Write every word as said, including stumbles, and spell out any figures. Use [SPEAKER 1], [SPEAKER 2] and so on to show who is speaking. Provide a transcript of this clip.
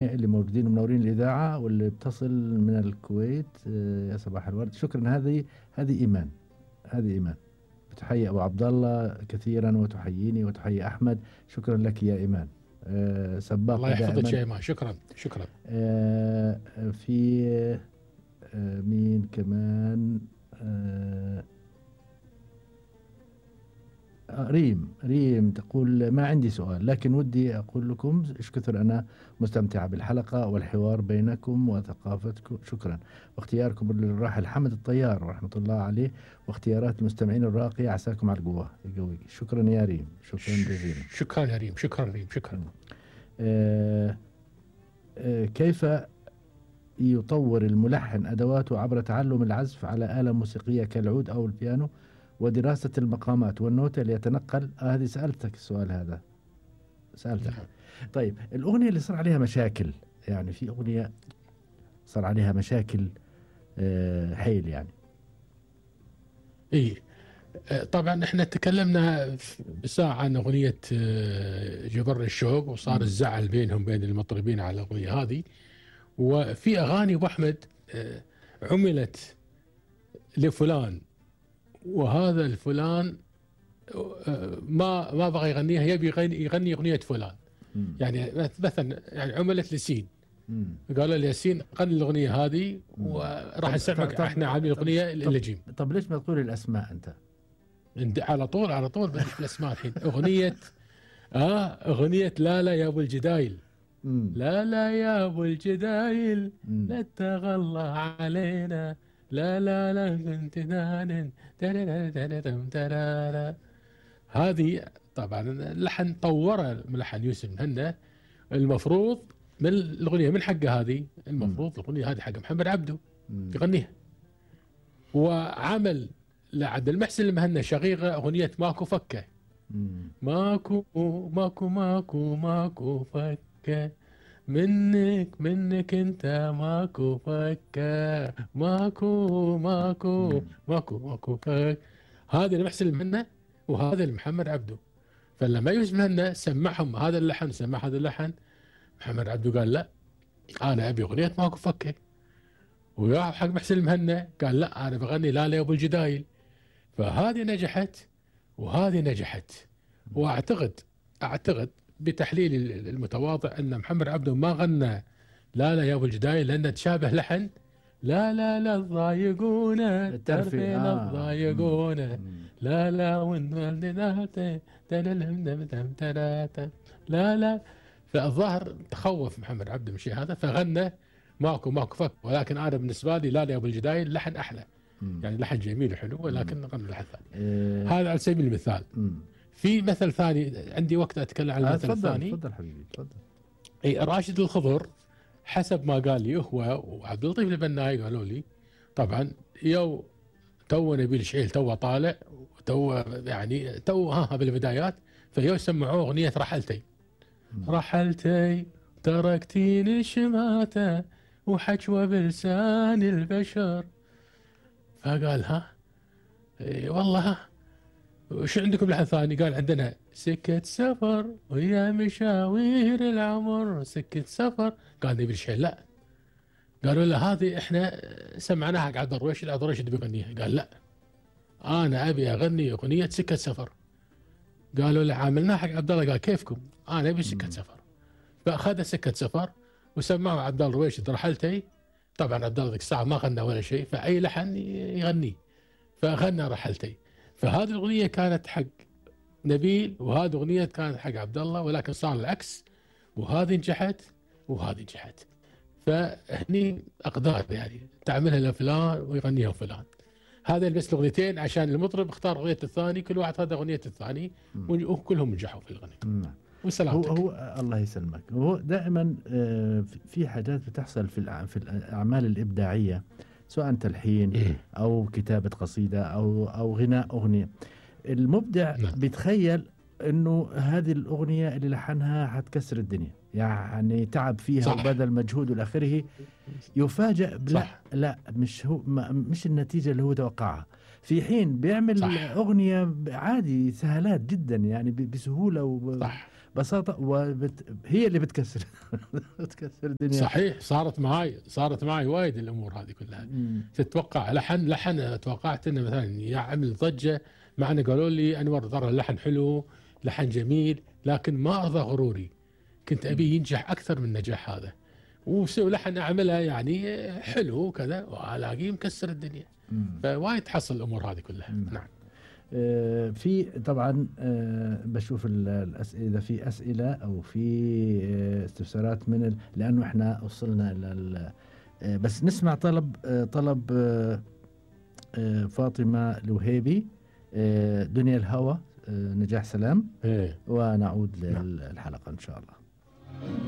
[SPEAKER 1] اللي موجودين ومنورين الإذاعة واللي بتصل من الكويت. آه، يا صباح الورد. شكرا. هذه هذه إيمان، هذه إيمان بتحيي أبو عبد الله كثيرا وتحييني وتحيي أحمد. شكرا لك يا إيمان. آه، سباقة
[SPEAKER 2] الله يحفظك
[SPEAKER 1] دائما.
[SPEAKER 2] يا إيمان. شكرا شكرا.
[SPEAKER 1] آه، في آه، مين كمان؟ آه، ريم ريم تقول ما عندي سؤال، لكن ودي أقول لكم إيش كثر أنا مستمتعة بالحلقة والحوار بينكم وثقافتكم. شكرا. واختياركم للراحل حمد الطيار رحمة الله عليه، واختيارات المستمعين الراقية. عساكم على القوة يقويك. شكرا يا ريم. شكرا جزيلا.
[SPEAKER 2] شكرا يا ريم. شكرا ريم. شكرا.
[SPEAKER 1] آه آه كيف يطور الملحن أدواته عبر تعلم العزف على آلة موسيقية كالعود أو البيانو ودراسة المقامات والنوتة ليتنقل؟ آه هذه سألتك السؤال هذا، سألتك. طيب الأغنية اللي صار عليها مشاكل، يعني في أغنية صار عليها مشاكل آه حيل يعني.
[SPEAKER 2] إيه طبعا احنا تكلمنا بساعة عن أغنية جبر الشوق، وصار الزعل بينهم بين المطربين على الأغنية هذه. وفي أغاني أبو أحمد عملت لفلان، وهذا الفلان ما ما بغى يغنيها، يبي يغني, يغني أغنية فلان.
[SPEAKER 1] مم.
[SPEAKER 2] يعني مثلا يعني عملت لسين،
[SPEAKER 1] مم.
[SPEAKER 2] قالوا لي ياسين غني الأغنية هذه وراح نسمعك احنا عاملين الأغنية اللجيم.
[SPEAKER 1] طب ليش ما تقول الأسماء أنت؟
[SPEAKER 2] على طول على طول بدش بالأسماء الحين. أغنية آه أغنية لا لا يا أبو الجدايل.
[SPEAKER 1] مم.
[SPEAKER 2] لا لا يا أبو الجدايل
[SPEAKER 1] مم.
[SPEAKER 2] لا تغلى علينا، لا لا لا كنت نان. هذه طبعا اللحن طوره ملحن يوسف مهنا. المفروض من الأغنية من حقه هذه، المفروض الأغنية هذه حق محمد عبده يغنيها. وعمل لعبد المحسن المهنا شقيقة أغنية ماكو فكة. ماكو ماكو ماكو ماكو فكة منك منك انت ماكو فكة، ماكو ماكو ماكو ماكو فك. هذا المحسن المهنا وهذا المحمد عبده. فلما يوسف مهنا سمعهم هذا اللحن سمع هذا اللحن، محمد عبده قال لا انا ابي اغنيه ماكو فكه. ويا حق محسن المهنا قال لا انا بغني لا لا يا ابو الجدايل. فهذه نجحت وهذه نجحت. واعتقد اعتقد بتحليل المتواضع ان محمد عبده ما غنى لا لا يا ابو الجدايل لانه تشابه لحن لا لا لا تضايقونا الترفيه تضايقونا لا لا لا لا. فالظاهر تخوف محمد عبده من شيء هذا فغنى ماكو ماكو فك. ولكن انا بالنسبه لي لا لا يا ابو الجدايل لحن احلى. مم. يعني لحن جميل وحلو ولكن غنى لحن ثاني. إيه. هذا على سبيل المثال. مم. في مثل ثاني عندي وقت اتكلم عن المثل الثاني.
[SPEAKER 1] تفضل حبيبي تفضل.
[SPEAKER 2] اي راشد الخضر حسب ما قال لي هو وعبد اللطيف البناي قالوا لي طبعا يو تو نبيل شعيل تو طالع تو يعني تو ها بالبدايات فيو سمعوه اغنيه رحلتي. مم. رحلتي تركتيني شماته وحجوه بلسان البشر. فقال ها إيه والله ها وش عندكم لحن ثاني؟ قال عندنا سكة سفر ويا مشاوير العمر سكة سفر. قال نبيل شعيل لا. قالوا له هذه احنا سمعناها حق عبد الرويشد عبد الرويشد بيغنيها. قال لا انا ابي اغني اغنيه سكه سفر. قالوا له عاملناها حق عبد الله. قال كيفكم انا ابي سكه سفر. فاخذ سكه سفر وسمعوا عبد الله الرويشد رحلتي. طبعا عبد الله ذيك الساعه ما غنى ولا شيء فاي لحن يغنيه فغنى رحلتي. فهذه الاغنيه كانت حق نبيل وهذه اغنيه كانت حق عبد الله ولكن صار العكس وهذه نجحت وهذه نجحت. فهني اقدار يعني تعملها لفلان ويغنيها فلان. هذا بس الاغنيتين عشان المطرب اختار اغنيه الثاني كل واحد هذا اغنيه الثاني وكلهم نجحوا في الغناء.
[SPEAKER 1] نعم.
[SPEAKER 2] وسلامتك.
[SPEAKER 1] هو, هو الله يسلمك. هو دائما في حاجات بتحصل في في الاعمال الابداعيه سواء تلحين او كتابه قصيده او او غناء اغنيه. المبدع نعم. بيتخيل انه هذه الاغنيه اللي لحنها حتكسر الدنيا يعني تعب فيها صح. وبذل مجهود والى اخره. يفاجأ لا لا مش هو مش النتيجه اللي هو توقعها. في حين بيعمل صح. اغنيه عادي سهلات جدا يعني بسهوله ببساطة وبت... هي اللي بتكسر بتكسر الدنيا.
[SPEAKER 2] صحيح، صارت معي صارت معي وايد الامور هذه كلها.
[SPEAKER 1] مم.
[SPEAKER 2] تتوقع لحن لحن توقعت انه مثلا يعمل ضجه، مع انه قالوا لي انور ترى اللحن حلو، لحن جميل، لكن ما ارضى غروري، كنت ابي ينجح اكثر من النجاح هذا، وسوي لحن اعملها يعني حلو كذا والاقيه مكسر الدنيا.
[SPEAKER 1] مم.
[SPEAKER 2] فوايد تحصل الامور هذه كلها.
[SPEAKER 1] مم.
[SPEAKER 2] نعم.
[SPEAKER 1] آه، في طبعا آه، بشوف ال- الأسئلة، إذا في أسئلة أو في آه، استفسارات من ال... لأنه إحنا وصلنا لل آه، بس نسمع طلب آه، طلب آه، آه، فاطمة الوهيبي، آه، دنيا الهوى، آه، نجاح سلام،
[SPEAKER 2] ايه
[SPEAKER 1] ونعود
[SPEAKER 2] نعم.
[SPEAKER 1] للحلقة إن شاء الله.